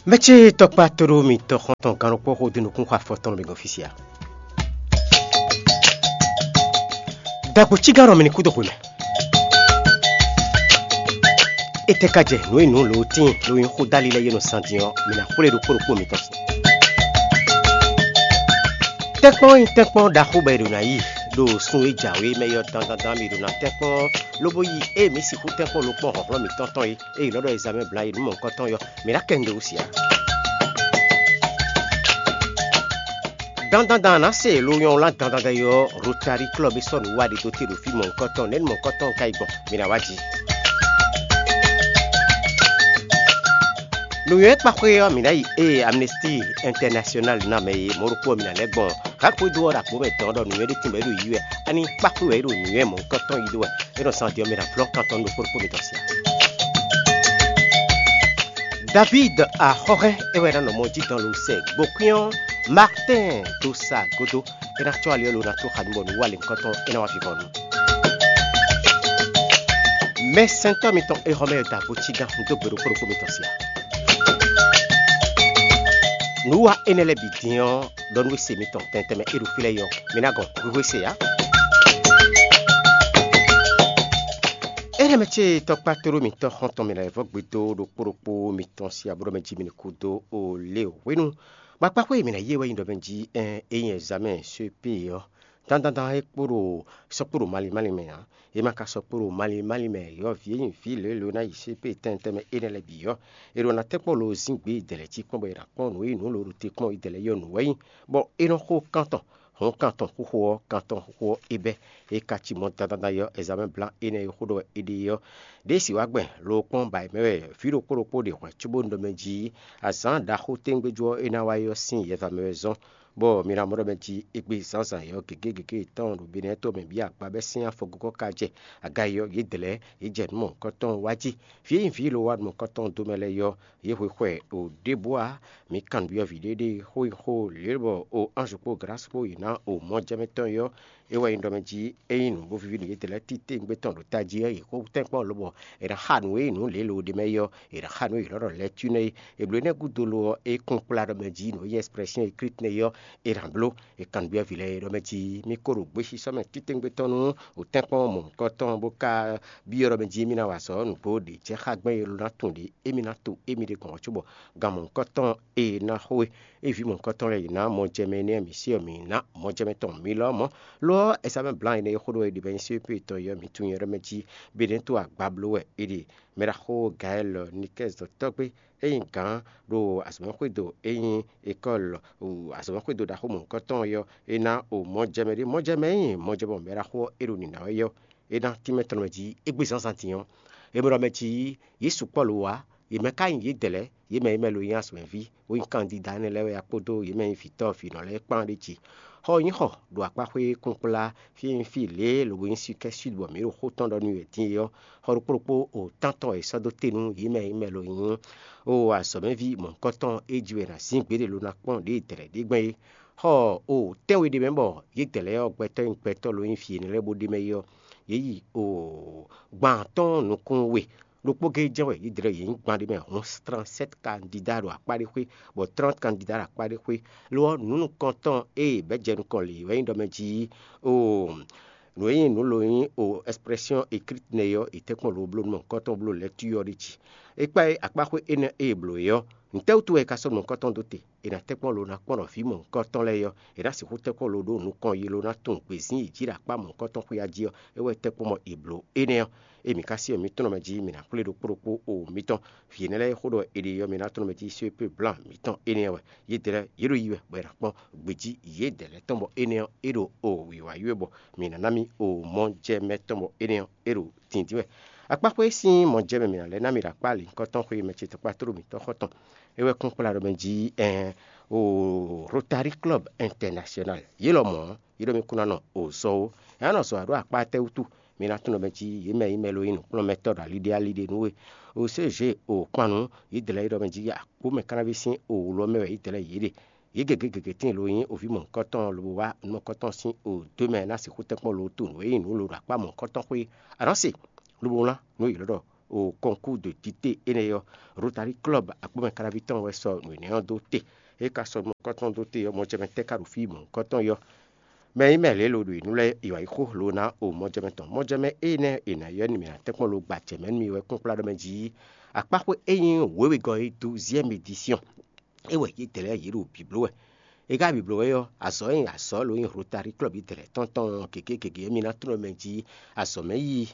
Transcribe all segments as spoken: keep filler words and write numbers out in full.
Mɛ ce tɔkpa tóɖó mitɔn xɔ́ntɔn gannukpɔ́ xó dó nukún xɔ afɔtɔn mi gɔn fí sia. Dagbo cígán nɔ mi ní kú dó xwe mɛ. Étɛ́ ka jɛ nǔ e nǔ lǒ tíin ló nyí xó dali lɛ́ɛ yé nɔ sán din ɔ́, mi ná xwlé ɖokpó ɖokpó mitɔn sin. Tɛ́nkpɔ́n nyí tɛ́nkpɔ́n ɖaxó bɔ è ɖǒ ná yi ɖo sun e jǎwe mɛ é ɔ́ dandandan mi ɖǒ ná tɛ́nkpɔ́n, lobo yi ée mǐ sixú tɛ́nkpɔ́n lokpɔ́n hlɔ̌nhlɔ́n mǐtɔn tɔn é, é yi lɔ̌ ɖɔ ezǎmɛ bla yi nǔ mɔ̌hunkɔtɔn ɔ́, mǐ ná kɛ nǔɖé wú sia. Dandandan ná se lo nyɔ́ wlán dandandan yi ɔ́, Rotari Club e sɔ́ nǔ wa ɖe dó te ɖo fí mɔ̌hunkɔtɔn, nɛ̌ mɔ̌hunkɔtɔn ka yi gbɔn? Mǐ ná wá jí. Nǔnywɛ́ kpaxwé ɔ́, mǐ ná yi ée Amnesty International ná mɛ e mɔ̌ ɖokpó ɔ́ mǐ ná lɛ́ gbɔn. Gǎn xwedó ɔ́ ɖo agbǒ mɛ dɔn ɖɔ nǔnywɛ́ ɖé tɛnmɛ é ɖo yiyi wɛ, ani kpaxwé wɛ é ɖo nǔnywɛ́ mɔ̌hunkɔtɔn yi ɖó wɛ, é nɔ zán din ɔ́ mɛ ná vlɔ́n kan tɔn ɖokpó ɖokpó mitɔn sia. David Axɔ́hɛ́ é wɛ ná nɔ mɔ jí dɔn lo sɛ gbokpín ɔ́, Martin dó sa gúdo, é ná cɔ́ ali ɔ́ lo ná tó xa nú bɔ nǔ wa lěhunkɔtɔn é ná wá vivɔnu. Mɛsɛntɔ́ mitɔn Exɔmɛ Dagbo cígán dó gbe ɖokpó ɖokpó mitɔn sia. Nǔwa énɛ́ lɛ́ɛ bǐ din ɔ́, ɖɔ nú we se mitɔn tɛntɛnmɛ é ɖo fí lɛ́ɛ yɔ, mi ná gɔn hwíhwé se ǎ. Énɛ́ mɛ ce tɔkpá tóɖó mitɔn xɔ́ntɔn mi lɛ́ vɔ́ gbe dó ɖokpó ɖokpó mitɔn sia bó ɖɔ mɛ jí mi ní kú dó o lě hwenu. Kpakpáxwé e mǐ ná yí e wɛ nyí ɖɔ mɛ jí ɛn é nyí ɛzamɛ C P ɔ́, dandandan é kpo ɖo sɔ́ kpo ɖo malín málín mɛ ǎ. É ma ka sɔ́ kpo ɖo malín málín mɛ yɔ́ví e nyí vǐ lělǒ ná yi C P tɛntɛn mɛ énɛ́ lɛ́ɛ bǐ ɔ́, è ɖo ná tɛ́nkpɔ́n lo zín gbě idɛ̌ lɛ́ɛ cí kpɔ́n bɔ è nǎ kpɔ́n nǔ e nyí nǔ lǒ ɖo te kpɔ́n idɛ̌ lɛ́ɛ yɔ́ nǔ wɛ nyí, bɔ é nɔ xo kántɔn, hɔn kántɔn xóxó ɔ́, kántɔn xóxó ɔ́ é bɛ́. É ka cí mɔ̌ dandandan yɔ́ ɛzamɛ blán énɛ́ e xó ɖɔ wɛ è ɖe é ɔ́, ɖěe sì wá gbɛn lo kpɔ́n ba mɛ wɛ vǐ ɖokpó ɖokpó ɖe hwɛ̌ cóbónú ɖɔ mɛ jí azǎn ɖaxó téŋgbéjú ɔ́ é ná wá é ɔ́ sín yɛva mɛ wɛ zɔ́n, bɔ mi ná mɔ ɖɔ mɛ jí égbé zǎnzǎn yɔ́ gěgé gěgé yětɔn ɖo Benɛ́ɛ to mɛ bǐ agba bɛ́ sín afɔgógɔ́ ka jɛ aga e ɔ́, yě dlɛ̌ yě jɛ nǔ mɔ̌hunkɔtɔn wá jí. Vǐ e nyí vǐ lo wá nǔ mɔ̌hunkɔtɔn dó mɛ lɛ́ɛ yɔ́, yě hwe xwɛ o ɖěbǔ ǎ. Mi kan nǔbyɔ́ vǐ ɖé ɖé xó nyí xó lělbɔ o anzu kpó Glasi kpó yě ná o mɔjɛmɛ tɔn yɔ́. É wɛ nyí ɖɔ mɛ jí é nyí nǔ bó víví nú yědɛɛ lɛ́ɛ titewungbe tɔn ɖo tají ɔ́, yě xo tɛ́nkpɔ́n lobɔ è nǎ xa nǔ e nyí nǔ lě lo ɖ'é mɛ é ɔ́, è nǎ xa nǔ e yě lɔ́ ɖɔ lɛ̌ tún nɛ́ é. È blǒ énɛ́ gúdo lo ɔ́, é kún kplá ɖɔ mɛ jí nǔ e nyí ɛsplɛ́syɔ́n e Klíti nɛ́ é ɔ́, è nǎ bló. È kan nǔbyɔ́ vǐ lɛ́ɛ é ɖɔ mɛ jí mì ko ɖo gbesisɔ mɛ titewungbe tɔn nú wǒtɛ́nkpɔ́n mɔ̌hunkɔtɔn bó ka byɔ́ ɖɔ mɛ jí émí ná wa azɔ̌ nǔgbó ɖě jɛ xá gbɛn e lo ná tunwun ɖě émí ná to émí ɖe gbɔn ɔ́ cóbɔ gan mɔ̌hunkɔtɔn e ná xo é. Ée vǐ mɔ̌hunkɔtɔn lɛ́ɛ yě ná mɔjɛmɛ énɛ́ ɔ́, mǐ se ɔ́, mǐ ná mɔjɛmɛ tɔn mǐ lɔ mɔ̌. Lo ɔ́, Ɛsámɛ blǎn énɛ́ e xó ɖɔ é ɖi bɔ é nyí C P tɔn é ɔ́, mǐ tunwun nyɛ ɖɔ mɛ jí bé ɖětɔ́ agba bló wɛ é ɖe. Mɛ ɖaxó Gayɛ́l Nikɛ́zi dɔ̌tɔ́gbé e nyí gǎn ɖo azɔ̌mɛxwédo e nyí ekɔ́l azɔ̌mɛxwédo ɖaxó mɔ̌hunkɔtɔn é ɔ́, é ná o mɔjɛmɛ ɖé. Mɔjɛmɛ e nyí mɔjɛmɛ mɛ ɖaxó ɔ́, é ɖo nǐná wɛ é ɔ́, é ná tínmɛ tɔn mɛ jí égbé zǎnzǎn din ɔ́. É mɛ ɖɔ mɛ jí yě sukpɔ́ lo wá, yě mɛ ka nyí yědɛɛ lɛ́ɛ, yě mɛ e mɛ lo nyí azɔ̌mɛví, bó nyí kandida énɛ́ lɛ́ɛ wɛ a kpódó yě mɛ e nyí vǐtɔ́ vǐnɔ lɛ́ɛ kpán ɖ'é jí. Xɔ e nyí xɔ ɖo akpáxwé kúnkplá fí e nyí fí lě e lobo nyí Sikɛ́ Súd bɔ mǐ ɖo xó tɔn ɖɔ nú wɛ din é ɔ́, xɔ ɖokpó ɖokpó o tántɔn e è sɔ́ dó te nú yě mɛ e mɛ lo nyí o azɔ̌mɛví mɔ̌hunkɔtɔn e jí wɛ è nǎ zín gběɖé lo ná kpɔ́n ɖědɛɛ ɖě gbɛn é. Xɔ o tɛ́nwe ɖé mɛ bɔ yědɛɛ lɛ́ɛ ɔ́, gbɛtɔ́ e nyí gbɛtɔ́ lo nyí vǐ énɛ́ lɛ́ɛ bó ɖ'é mɛ é ɔ́, yě yi o gban atɔ́ɔ́n nukún we. Ɖokpó géé jɛ́n wɛ yě dlɛ́ yě nyí gban ɖé mɛ hǔn, trente-sept kandida ɖo akpá ɖé xwé, bɔ trente kandida ɖo akpá ɖé xwé. Lo ɔ́, nǔ nukɔntɔn e bɛ́ jɛ nukɔn lě wɛ nyí ɖɔ mɛ jí oo nǔ e nyí nǔ lo nyí o expression écrite nɛ́ ɔ́, è tɛ́nkpɔ́n lo bló nú mɔ̌hunkɔtɔn bló lɛ̌ tui ɔ́ ɖi jí. É kpá akpáxwé énɛ́ e è blǒ é ɔ́, nǔtɛ́wútu wɛ è ka sɔ́ nǔ mɔ̌hunkɔtɔn dó te? È nǎ tɛ́nkpɔ́n lo ná kpɔ́n ɖɔ vǐ mɔ̌hunkɔtɔn lɛ́ɛ ɔ́, è nǎ sixú tɛ́nkpɔ́n lo ɖó nukɔn yi lo ná tunwun gbězín yi jí ɖo akpá mɔ̌hunkɔtɔn xwé jí ɔ́, é wɛ tɛ́nkpɔ́n mɔ è blǒ énɛ́ ɔ́. Ée mǐ ka syɛ́n mǐ tɔn mɛ jí mǐ ná xwlé ɖokpó ɖokpó o mitɔn. Vǐ énɛ́ lɛ́ɛ e xó ɖɔ è ɖe ɔ́, mǐ ná tɔ́n mɛ jí só e pé blǎn mǐtɔn énɛ́ ɔ́ wɛ. Yědɛɛ lɛ́ɛ yě ɖo yi wɛ, bɔ è nǎ kpɔ́n gbejí yědɛɛ lɛ́ɛ tɔn, bɔ énɛ́ ɔ́, é ɖo o wǐwá yi wɛ, bɔ mǐ ná ná mì o mɔjɛmɛ tɔn, bɔ énɛ́ ɔ́, é ɖo dǐndín wɛ. Akpáxwé sín mɔjɛmɛ mǐ ná lɛ́ ná mì ɖo akpá lǐnkɔtɔn xwé mɛ ce tɔkpá tlóló mǐtɔn xɔ́ntɔn. É wɛ kún kplá ɖɔ mɛ jí ɛn o Rotary Club International. Yě lɔmɔ̌ ɔ́, yě ɖɔ mì kún ná nɔ o zɔ ó. È nǎ nɔ zɔ ǎ ɖó akpá tɛ́ wútu? Mi ná tunwun ɖɔ mɛ jí yě mɛ e nyí mɛ lo nyí nǔkplɔ́nmɛtɔ́ ɖo ali ɖé ali ɖé nú we. O C G o kpannú, yě dlɛ̌ yě ɖɔ mɛ jí akpó mɛ kánáví sín o wlɔ mɛ wɛ yě dlɛ̌ yě ɖe. Yě gěgé gěgé tíin lo nyí oví mɔ̌hunkɔtɔn lobo wá nukɔntɔn sín o dó mɛ ná sixú tɛ́nkpɔ́n lo tunwun nǔ e nyí nǔ lo ɖo akpá mɔ̌hunkɔtɔn xwé. A nǎ se lobo wlán nǔ e yě lɔ́ ɖɔ o kɔnkú de tite énɛ́ ɔ́, Rotary Club Agbomɛ Kalaví tɔn wɛ sɔ nǔ énɛ́ ɔ́ dó te. É ka sɔ nukɔntɔn dó te ɔ́, mɔjɛmɛ tɛ́ ka ɖo fí mɔ̌hunkɔtɔn ɔ́? Mɛ e nyí mɛ lě lo ɖo nǔ lɛ́ɛ yi wǎ yi xó lo ná o mɔjɛmɛ tɔn. Mɔjɛmɛ énɛ́ è nǎ ylɔ́ nú mì ná tɛ́nkpɔ́n lo gba jɛ mɛ nú mi wɛ kpɔ́nkplá ɖɔ mɛ jí akpáxwé e nyí wěwegɔ́ é dó ziɛ́ mi disiyɔn. É wɛ yědɛɛ lɛ́ɛ yě ɖo bǐbló wɛ. É ka bǐbló wɛ ɔ́, azɔ̌ e azɔ̌ lo nyí Rotary Club yědɛɛ lɛ́ɛ tɔn tɔn gěgé gěgé ɔ́, mi ná tló mɛ jí azɔ̌ mɛ yíyí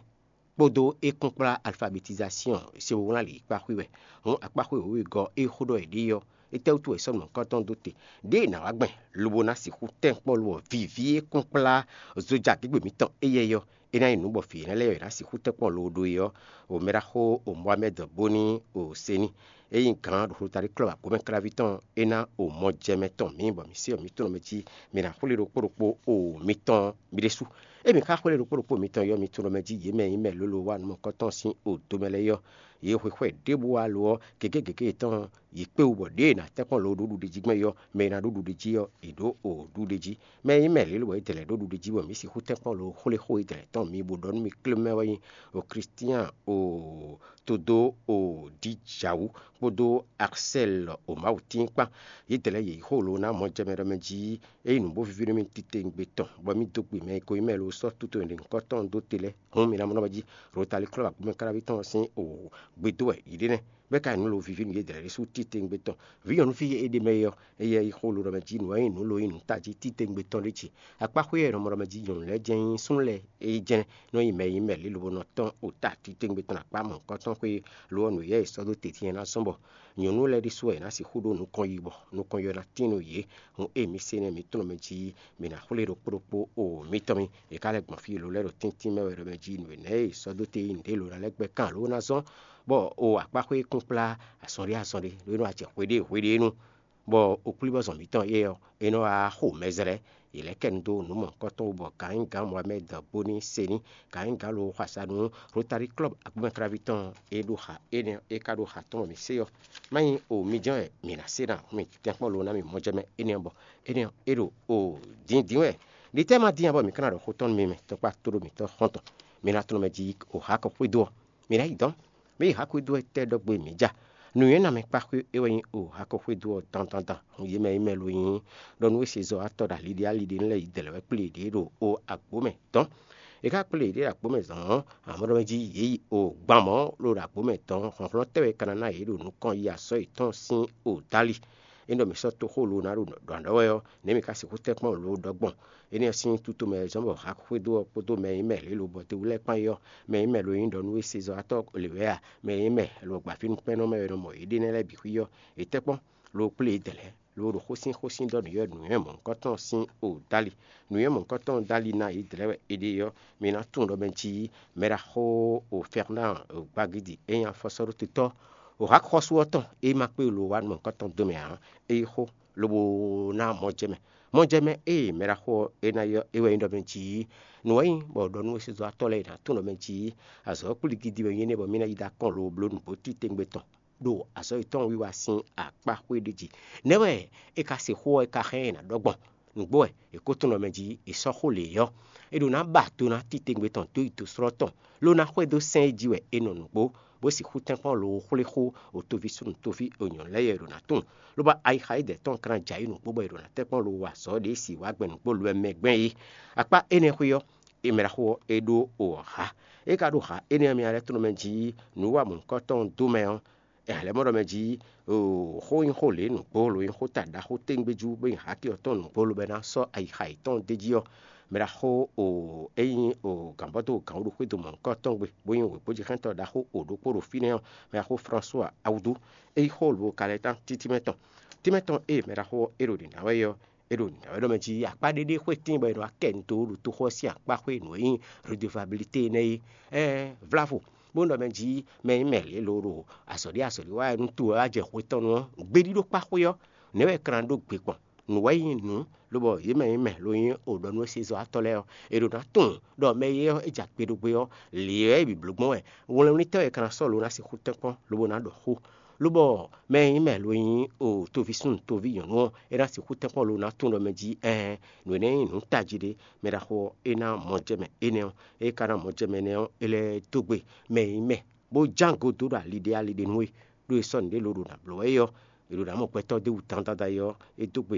kpódó é kpɔ́nkplá alfabetizasiɔn sewunwlán lǐkpá xwé wɛ. Hǔn akpáxwé wěwegɔ́ e xó ɖɔ è ɖe ɔ́, étɛ́wútu wɛ è sɔ́ nǔ nukɔntɔn dó te? Ɖěe è nǎ wá gbɛn lobo ná sixú tɛ́nkpɔ́n lo ɔ́, vǐví e kpɔ́nkplá zoja gěgbe mǐtɔn éyɛ́ ɔ́, é ná nyí nǔ bɔ vǐ énɛ́ lɛ́ɛ wɛ è nǎ sixú tɛ́nkpɔ́n lo ɖó é ɔ́, o Mɛɖaxó o Mohamɛ́d Bóní o Seni, e nyí gǎn ɖo Rotary Club Agbomɛ Kláví tɔn é ná o mɔjɛmɛ tɔn mǐ, bɔ mǐ se ɔ́, mǐ tunɔ mɛ jí mǐ ná xwlé ɖokpó ɖokpó o mitɔn mì ɖésú. Emi ka xwlé ɖokpó ɖokpó mitɔn yɔ mi tunɔ mɛ jí yě mɛ nyí mɛ lólo wá nukɔntɔn sín o domɛ lɛ́ɛ yɔ. Yě hwexwɛ ɖěbǔ wá lo ɔ́, gěgé gěgé yětɔn yě kpé wú bɔ ɖěe è nǎ tɛ́nkpɔ́n lo ɖó ɖuɖe jí gbɛn yɔ, mɛ e ná ɖó ɖuɖe jí ɔ́, è ɖǒ o ɖuɖe jí. Mɛ e nyí mɛ lě lobɔ é dɛ lɛ̌ ɖó ɖuɖe jí bɔ mǐ sixú tɛ́nkpɔ́n lo xwlé xó e dɛ lɛ̌ tɔn mi bó ɖɔ nú mi klé mɛ wɛ nyí o Klístián o Todo o Dijawú kpódó Aksɛ́l o Mawutín kpán. Yě dɛ lɛ́ɛ yě yí xó lo ná mɔjɛmɛ ɖɔ mɛ jí é nyí nǔ bó víví nú mì titewungbe tɔn, bɔ mì dó gbe mɛ e ko nyí mɛ lo sɔ́ tutɔn e ɖe nyǐkɔ tɔn dó te lɛ́ɛ. Hǔn mi ná mɔ nɔ mɛ jí Rotali klɔ́ agbomɛ káláví tɔn sín o gbe dó wɛ yě ɖe nɛ́, bɔ é ka nyí nǔ lo víví nú yě dlɛ̌ ɖésú titewungbe tɔn. Vǐ nyɔ̌nuví e ɖe mɛ é ɔ́, éyɛ́ yí xó lo ɖɔ mɛ jí nǔ e nyí nǔ lo nyí nǔ tají titewungbe tɔn ɖé ce. Akpáxwé e è nɔ mɔ ɖɔ mɛ jí nyɔ̌nu lɛ́ɛ jɛ́n nyí súnnu lɛ́ɛ é jɛ́n nɔ nyi mɛ e nyí mɛ lě lobo nɔ tɔ́n o ta titewungbe tɔn akpá mɔ̌hunkɔtɔn xwé lo ɔ́, nǔ éyɛ́ è sɔ́ dó te din é ná zɔ́n bɔ nyɔ̌nu lɛ́ɛ ɖésú wɛ è nǎ sixú ɖó nukɔn yi bɔ nukɔn yɔ ná tín nú yě. Hǔn ée mǐ se énɛ́ mǐ tunɔ mɛ jí mǐ ná xwlé ɖokpó ɖokpó o mitɔn mì. È ka lɛ́ gbɔn fí lo lɛ́ɛ ɖo tíntín mɛ wɛ ɖɔ mɛ jí nǔ énɛ́ e è sɔ́ dó te nyí nǔɖé lo ná lɛ́ gbɛ́ kan lǒ ná zɔ́n, bɔ o akpáxwé kún kplá azɔn ɖé azɔn ɖé ɖó é nɔ wá jɛ hweɖée hweɖée nu, bɔ oklíbɔ́zɔn mǐtɔn éyɛ́ ɔ́, é nɔ wá xo mɛ zlɛ́. Yě lɛ́ kɛ nu dó nǔ mɔ̌hunkɔtɔn wú bɔ Gǎnyigǎn Mohamɛ́d Bóní Sení, Gǎnyigǎn lo xɔ asa nú Rotari Klɔ́b Agbomɛkláví tɔn e ɖo xa énɛ́ e ka ɖo xa tɔn bɔ mǐ se ɔ́, má nyí o mi jɛ́n wɛ mǐ ná se ná mi tɛ́nkpɔ́n lo ná mi mɔjɛmɛ énɛ́ ɔ́ bɔ énɛ́ ɔ́, é ɖo o dǐndín wɛ. Ɖi tɛ́ ma dín ǎ bɔ mǐ ka ná ɖɔ xó tɔn nú mi mɛ tɔkpá tóɖó mǐtɔn xɔ́ntɔn, mi ná tunɔ mɛ jí o hǎ kɔ xwedó ɔ́, mǐ ná yi dɔ̌n. Mǐ yi hǎ xwedó ɔ́ tɛ́ ɖɔ gbe mǐ ja. Nǔnywɛ́ ná mɛ kpá xwé é wɛ nyí o hǎ kɔ xwedó ɔ́ dandan dan. Hun yě mɛ nyí mɛ lo nyí ɖɔ nú é se zɔ wá tɔ́ ɖo ali ɖé ali ɖé lɛ́ɛ yi dɛ lɛ̌ wɛ kplé yěɖée ɖo o agbǒ mɛ dɔ̌n. È ka kplé yěɖée ɖo agbǒ mɛ zɔn ɔ́, amɔ̌ ɖɔ mɛ jí yě yi o gban mɔ̌ lo ɖo agbǒ mɛ dɔ̌n. Hlɔ̌nhlɔ́n tɛ́ wɛ ka ná ná yě ɖo nukɔn yi azɔ̌ yětɔn sín o dali? É ɖɔ mǐ sɔ́ toxó lo ná ɖo ɖɔ̌n ɖɔ wɛ ɔ́, nɛ̌ mǐ ka sixú tɛ́nkpɔ́n lo ɖɔ gbɔn? Énɛ́ ɔ́ sín tutomɛ zɔ́n bɔ hǎ xwedó ɔ́ kpódó mɛ e nyí mɛ lě lobɔ te wú lɛ́ɛ kpán é ɔ́, mɛ e nyí mɛ lo nyí ɖɔ nú é se zɔ atɔ́ lě wɛ a? Mɛ e nyí mɛ lobɔ gbafínúkpɛ́nnɔ mɛ wɛ nɔ mɔ yěɖée nɛ́ lɛ́ɛ bǐ xwí ɔ́, è tɛ́ kpɔ́n lo kplé yě dɛ lɛ̌, lo ɖo xó sín xó sín ɖɔ nǔnywɛ́ mɔ̌hunkɔtɔn sín o dali. Nǔnywɛ́ mɔ̌hunkɔtɔn dali ná yě dlɛ̌ wɛ è ɖe ɔ́, mi ná tunwun ɖɔ mɛ jí mɛɖaxó o Fɛrnán o Gbagidi e nyí afɔsɔ́ɖótotɔ́ o hǎxɔ́sú ɔ́ tɔn e ma kpé lo wá mɔ̌hunkɔtɔn dó mɛ ǎ, é yi xó lobo ná mɔ jɛ mɛ. Mɔ jɛ mɛ ée mɛɖaxó ɔ́ é ná ylɔ́ é wɛ nyí ɖɔ mɛ jí nǔ wɛ nyí bɔ ɖɔ nú wěsezɔ́watɔ́ lɛ́ɛ è nǎ tunwun ɖɔ mɛ jí azɔ̌ kplígídi wɛ nyí énɛ́ bɔ mǐ ná yi ɖó akɔ́n lobo bló nǔgbó titewungbe tɔn ɖo azɔ̌ yětɔn wiwa sín akpá xwé ɖé jí. Nɛ̌ wɛ é ka se xó ɔ́ é ka hɛn ɛ nǎ ɖɔ gbɔn? Nǔgbó wɛ è ko tunwun ɖɔ mɛ jí è sɔ́ xó lě ɔ́, è ɖǒ ná ba do ná titewungbe tɔn dó yi dǒslɔ́ tɔn, ló ná xwedó sɛ́n e jí wɛ è nɔ nǔgbó, bó sixú tɛ́nkpɔ́n lo xwlé xó o toví súnnu toví o nyɔ̌nu lɛ́ɛ yɛ è ɖǒ ná tunwun. Lobo ayixa e dɛ̌ tɔn ka ná jɛ ayǐ nǔgbó bɔ è ɖǒ ná tɛ́nkpɔ́n lo wa azɔ̌ ɖě si wǎ gbɛn nǔgbó lo wɛ mɛ gbɛn é. Akpá énɛ́ xwé ɔ́, è mɛ ɖaxó ɔ́, è ɖó o hǎ. É ka ɖó hǎ énɛ́ ɔ́, mi ná lɛ́ tunwun mɛ jí nǔ wa mɔ̌hunkɔtɔn dó mɛ ɔ́, è hɛn lɛ́ mɔ ɖɔ mɛ jí xó nyí xó lě nǔgbó lo nyí xó ta ɖaxó téŋgbéjú bó nyí hǎkí ɔ́ tɔn nǔgbó lobo ná sɔ́ ayixa yětɔn d'é jí ɔ́, mɛ ɖaxó o é nyí o gǎnbɔ́dó gǎnwúɖuxwédo mɔ̌hunkɔtɔn gbe bó nyí wěgbójíxɛ́ntɔ́ ɖaxó o ɖokpó ɖo fínɛ́ ɔ́, mɛ ɖaxó Fransua Awudú, é nyí xó lobo ka lɛ́ tán títí mɛ tɔn. Tínmɛ tɔn e mɛ ɖaxó ɔ́ é ɖo nǐ ná wɛ é ɔ́, é ɖo nǐ ná wɛ ɖɔ mɛ jí akpá ɖé ɖé xwé tíin bɔ è nɔ wá kɛ nǔ dó ɖo toxo ɔ́ sín akpá xwé nǔ e nyí redevabilité énɛ́ é. Ɛ́ɛ, vlávo, bó ɖɔ mɛ jí mɛ e nyí mɛ lě lo ɖo azɔ̌ ɖé azɔ̌ ɖé wa wɛ nú to wɛ wá jɛ hwe tɔn nu ɔ́, gbéɖíɖó kpá xwé ɔ́, nɛ̌ wɛ è ka ná ɖó gbe gbɔn? Nǔ wɛ nyí nǔ, lobɔ yě mɛ e nyí mɛ lo nyí o ɖɔ nú é se zɔ atɔ́ lɛ́ɛ ɔ́, è ɖǒ ná tunwun ɖɔ mɛ éyɛ́ ɔ́, é jɛ akpe ɖó gbé ɔ́, lě wɛ é bǐ bló gbɔn wɛ. Wlɛnwlítɔ́ wɛ è ka ná sɔ́ lo ná sixú tɛ́nkpɔ́n lobo ná ɖɔ xó. Lobɔ mɛ e nyí mɛ lo nyí o toví súnnu toví nyɔ̌nu ɔ́, é ná sixú tɛ́nkpɔ́n lo ná tunwun ɖɔ mɛ jí ɛɛn, nǔ énɛ́ nyí nǔ tají ɖé. Mɛ ɖaxó ɔ́, é ná mɔ jɛ mɛ énɛ́ ɔ́, é ka ná mɔ jɛ mɛ énɛ́ ɔ́, é lɛ́ dó gbe mɛ e nyí mɛ bó ján go dó ɖo ali ɖé ali ɖé nú we, ɖó è sɔ́ nǔɖé lo ɖo nǎ bló wɛ é ɔ́, è ɖo nǎ mɔ gbɛtɔ́ d'é wú dandan é ɔ́, é dó gbe